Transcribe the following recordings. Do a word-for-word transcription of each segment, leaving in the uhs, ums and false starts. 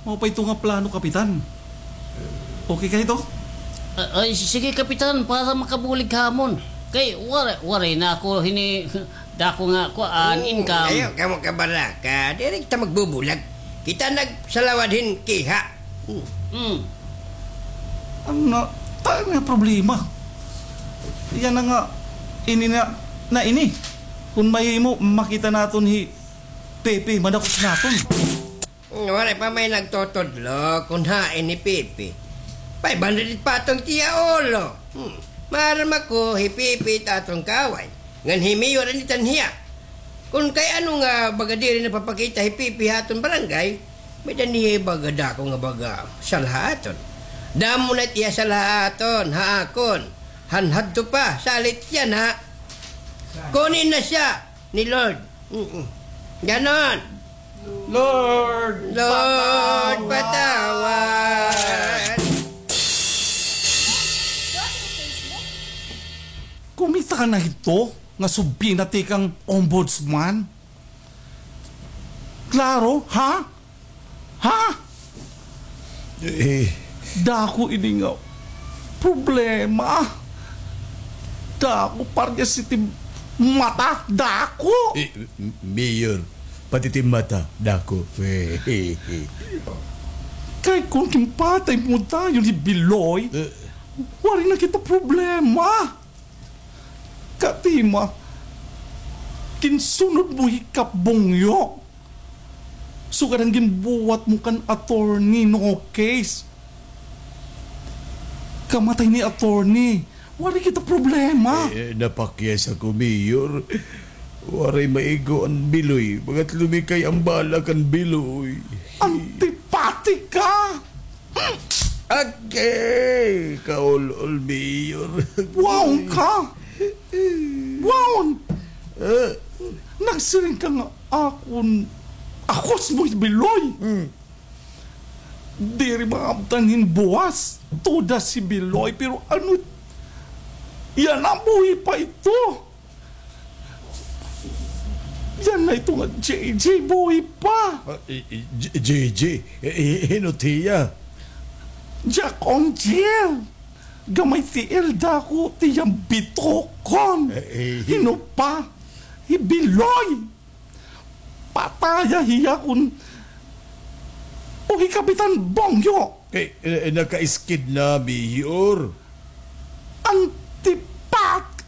Mao pa ito nga plano, Kapitan. Okay ka ito? Ah, ay, sige, Kapitan, para makabulig ha amon. Kay, waray, waray na ako hini, dako nga, kuan, income. Ayaw kamo kabaraka, diri kita magbubulag. Kita nagsalawad hin kiha. Hmm. Hmm. Ano, ta nga problema. Yana nga, ini na, na ini. Kun mahimo, makita naton hi Pepe, madakop naton. Hmm, waray pa may nagtutudlo kun hain hi Pepe. Five hundred pa aton tiya ulo. Hmm. Maaram ako, hi Pepe it aton kaaway. Ngan hi Mayor an itan hiya. Kun kay ano nga baga diri napapakita hi Pepe ha aton barangay, may-ada niya baga dako nga baga sala ha aton. Damo na it iya sala ha aton, ha akon. Han hadto pa, salit yana. Kunin na siya ni Lord. Mm-mm. Ganon. Lord, Lord, patawad. Kumita ka na hito nga subina tikang ombudsman? Klaro, ha? Ha? Eh. Dako ini nga problema. Dako, parehas it im mata. Dako. Eh, M-, Mayor, pati it im mata, dako. Kay kun ginpatay mo dayon hi Biloy, eh, waray na kita problema. Katima, ginsunod mo hi Kap Bongyo. Sugad han ginbuhat mo kan attorney, no case. Kamatay ni attorney. Waray kita problema. Eh, eh, napakyas ako, Mayor. Waray maigo an Biloy. Bagat lumikay an bala kan Biloy. Antipatika! Agay! Kaul-ol, Mayor. Waon ka! Waon! Eh? Nagsiring ka nga akon, akos mo hi Biloy. Hmm. Diri maabtan hin buwas, todas hi Biloy, pero ano, yana buhi pa ito. Yana ito nga J J, buhi pa. Ah, i-, i-, J-, J J? Eh, eh, hin-o it hiya? Jack Ong Jill. Gamay tiil, dako it iya bitokon. Eh, eh, hin-o pa? Hi Biloy. Pataya hiya kun, o hi Kapitan Bongyo. Eh, eh, nakaiskid na, Mayor. Antipat-,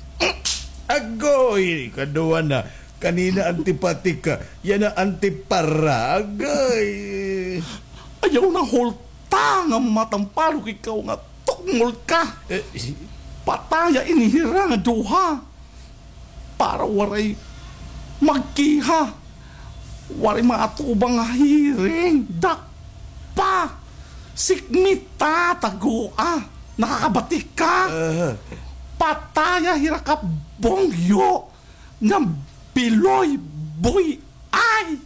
Agoy, kaduha na. Kanina antipatika, yana antiparagay. Ayaw na hulta nga matampalok ikaw nga tukmol ka. Eh, pataya ini hira nga duha. Para waray magkiha. Waray maatubang nga hearing. Dakpa. Sikmita, tagoa. Nakakabati ka? Aha. Pataya hira Kap Bongyo nga Biloy, buy-i.